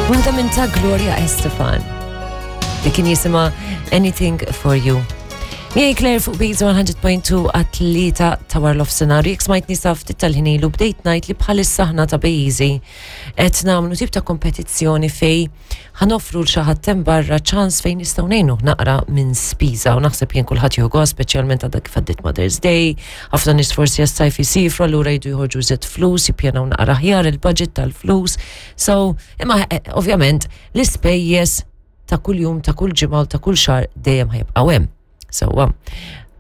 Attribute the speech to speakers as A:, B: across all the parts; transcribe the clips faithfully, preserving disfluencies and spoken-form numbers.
A: Waħda minn ta' Gloria Estefan li kien jisimha Anything for You. Miegħi Claire fuq Beats one hundred point two għat-tlieta ta' wara nofsinhar. Jekk smajtni sa ftit tal-ħin ilu, bdejt ngħid li bħalissa aħna ta' Bejzi qed nagħmlu tip ta' kompetizzjoni fejn ħa noffru lil xi ħadd barra ċans fejn nistgħu ngħinu naqra minn spiża u naħseb jien kulħadd jieħu gost, speċjalment għadha kif għaddiet Mother's Day, ħafna nies forsi għas-sajf isifru, allura jridu joħorġu żejjed flus, jippjanaw naqra aħjar il-budget tal-flus. So, imma eh, ovvjament l-ispejjeż ta' kull jum, ta' kull ġimgħa u ta' kull xahar dejjem ħa jibqgħu hemm. Sewwa,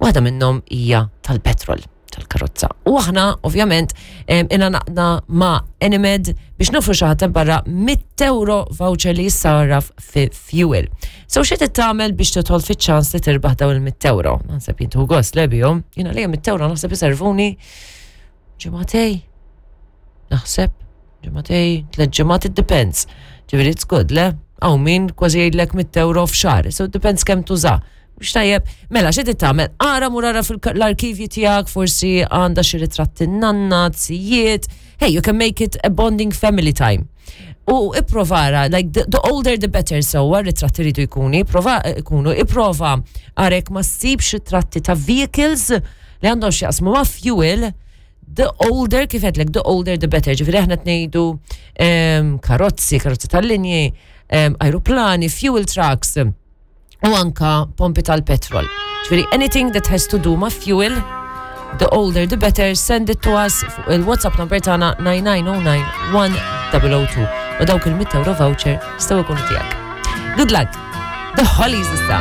A: waħda minnhom hija tal-petrol tal-karozza. U aħna, ovvjament, ingħaqadna ma' Enemed biex noffru xi ħadd barra mitt euro voucher li jissarraf fi fuel. So xi tagħmel biex tidħol fiċ-ċans li tirbaħ dawn il-mitt euro? Naħseb jintu gost le bihom. Jiena li mitt euro naħseb iservuni ġimagħtejn. Naħseb ġimagħtejn, tliet ġimgħat, it depends. Ġifieri it's good, le? Hawn min kważi jgħidlek mitt euro f'xahar. So it depends kemm tuża. Mhux tajjeb, mela xi tagħmel? Ara mur ara fil-arkivji tiegħek, forsi għandha xi ritratti nanna, zijiet. Hey, you can make it a bonding family time. U ipprovara, like the, the older the better, so ritratti rridu jkunu, prova jkunu, ipprova ara jekk ma ssibx ritratti ta' vehicles li għandhom x'jaqsmu ma' fuel, the older, kif għedtlek, the older the better. Ġifieri aħna ngħidu um, karozzi, karozzi tal-linji, um, aeroplani, fuel trucks, u anka pompi tal-petrol. Ġifieri anything that has to do ma' fuel, the older the better, send it to us fuq il-WhatsApp number tagħna nine nine zero nine one zero zero two u dawk il-mitt euro voucher jistgħu jkunu tiegħek. Good luck! The Hollies issa.